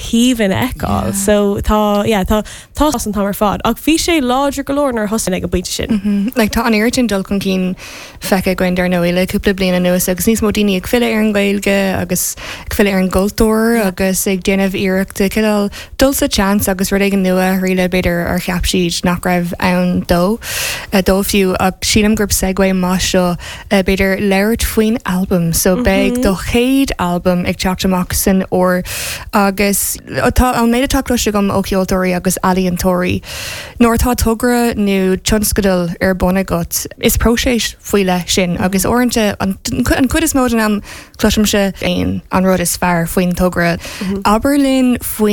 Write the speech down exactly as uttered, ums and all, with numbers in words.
haoibhinn a fheiceáil so tá yeah, tá tá an t-am ar fad ach bhí sé láidir go leor nuair thosaigh ag an bpointe sin. Mm -hmm. Like tá an oiread sin dul chun cinn feicthe againn dar ndóigh le cúpla bliain anuas agus níos mó daoine ag filleadh ar an Ghaeilge agus ag filleadh ar an gcultúr yeah. agus ag déanamh iarrachta cineál dul sa seans agus rud éigin nua a thriail b'fhéidir ar cheap siad nach raibh ann dó dó fiú ach sílim gurb segue maith seo b'fhéidir labhairt faoin album so mm -hmm. beidh do chéad album ag teacht amach san fhómhar agus tá an méid atá cloiste agam ó cheoltóirí agus ealaíontóirí. Nuair atá togra nó tionscadal ar bun agat is próiseas faoi leith sin agus uaireanta an chuid is mó den am cloisimse aon an rud is fearr faoin togra. Mm -hmm. Abair linn faoin